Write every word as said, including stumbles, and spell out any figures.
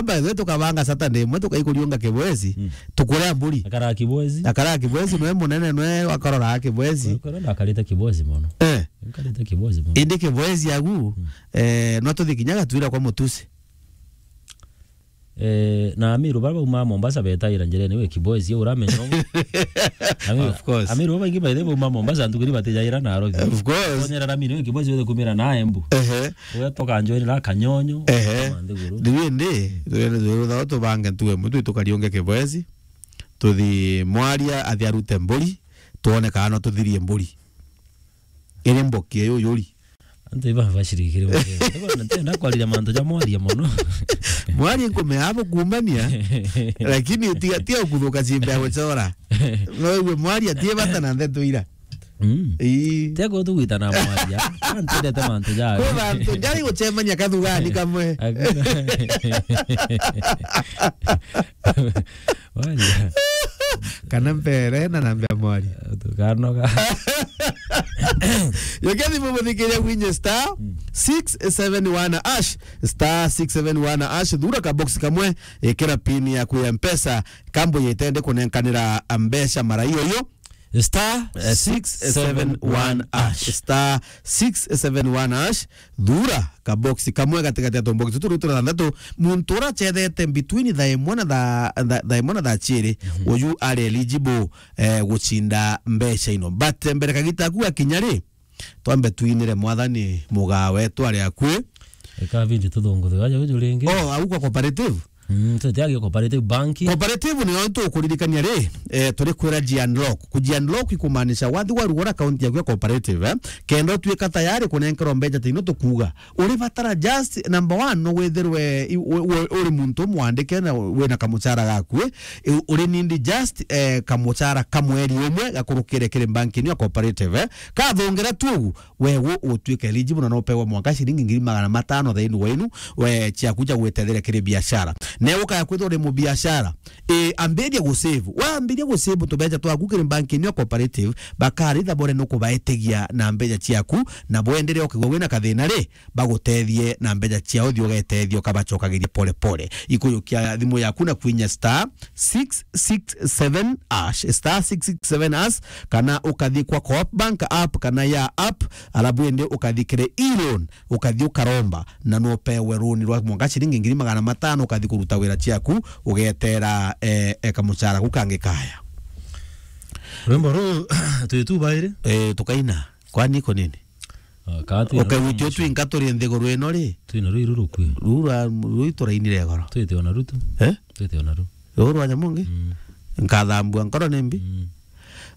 By the way, tukabanga Saturday imwe, tukaikuriunga Kibwezi, mm, tukurea mburi. Akaraa Kibwezi. Akaraa Kibwezi, nwe munene, nwe wakorora Kibwezi. Kwa, kwa, ndakarite Kibwezi mono. Eh. Nkarite Kibwezi mono. Indi Kibwezi agu, mm, eh, no tuthi kinya Gatwira kwa Mutusi. Eh, na Amiru bara bauma Mombasa betaira njirene, we Kibwezi, uramenya uguo. Ami-, of course. Amiru baingi by the way bauma Mombasa, ntukiri batijaira Nairobi. Of course. Tonyera Amiru, we Kibwezi, wethe kumira na Embu. Ehe. Ugetoka njoera Kanyonyo, ehe, kama nthiguru. Riu indi, twende, twende, tubange ntue mutwe, tukariunge Kibwezi. Tuthi Mwaria athi arute mburi, tuone kana no tuthirie mburi. Iri mboki iyo yuri. Antu iba bashirikire mutwe. Ntenda kwarira mantu ja Mwaria mono. Mwaria nkume abo kuumania, lakini tiga, tiga kuthuka ciimbe ya gucora. No iwe Mwaria tie bata na ndeto ira. Mm. Ii. Teko tugwita na Mwaria. Antendete mantu jayo. Kwi bantu njari gucemania kathugani kamwe. Hakuna. Mwaria. Kana mbere na namba ya Mwaria. Tukanoga. Yokia thimu muthikiria gwinye star, mm, six seven one hash, star six seven one hash, thura ka box kamwe, ikira pin yaku ya Mpesa, kambo yetende kunenkanira mbeca mara iyo iyo. Star, eh, six seven one hash. Star six seven one hash. Thura kabox kamwe gatigati ya tumbox tutu turi tuthantatu. Muntu ura acethete between thaa imwe na thaa, thaa, thaa imwe na thaa ciiri, mhm, uyu ari eligible, eh, gucinda mbeca ino. But, eh, mbere kagita aku gakinya ri, twambe twinire Mwathani mugaa wetu ari akui. Eka bindi tuthunguthe waja uju ringi. Oh, au kwa cooperative? Mm, tutiagi cooperative bank. Cooperative niyo tukuririkania ri, eh, turi kwira ji unlock. Kuji unlock ikumaanisha wathi warugura account yaku ya cooperative, eh, kenda utuika tayari kunenkerwa mbeca tino tukuuga. Uri batara just number one no withirwe i-, u-, u-, uri muntu mwandike na wina kamucara gaku, eh, uri nindi just, eh, kamucara ka mweri umwe gakurukire kiri bank ino ya cooperative, eh. Kathongera tu ugu, we gu utuike eligible na no upewe mwanka ciringi ngiri magana matano thiini wenu, we ciaku cia gwitetheria kiri biashara. Na ukaya kwithirwa uri mubiashara, e, ambiria gusave. Wambiria gusave tubeca twaku kiri bank ino ya cooperative, bakaritha bore nukubaetegia na mbeca ciaku, na bwendere ukigwa wina kathina ri, bagutethie na mbeca ciao, thi ugetethia ukabacokagiria pole pole. Ikujukia thimu yaku na kwinya star six six seven hash, star six six seven hash, kana ukathi kwa Coop Bank app kana ya app, alafu indi ukathi kiri e-loan, ukathi ukaromba, na no upewe runi rwa mwanka ciringi ngiri magana matano, ukathi kuruta wira ciaku, ugetera, eh, eh, kamucara kau kangi kaya. Rwimbo ruu, twi tu bairi? Eh, tukaina. Kwani iko nini? Ah, kaa twina ruu ukagwitio mwisho. Twinka turi nthiguru ino ri? Twina ruu irurukwi. Ruu rwa, ruu iturainire goro. Twite ona ruu tu. Eh? Twite ona ruu. Ruu rwa Nyamungi? Mm. Nkathambua nkoro ni mbi? Mm.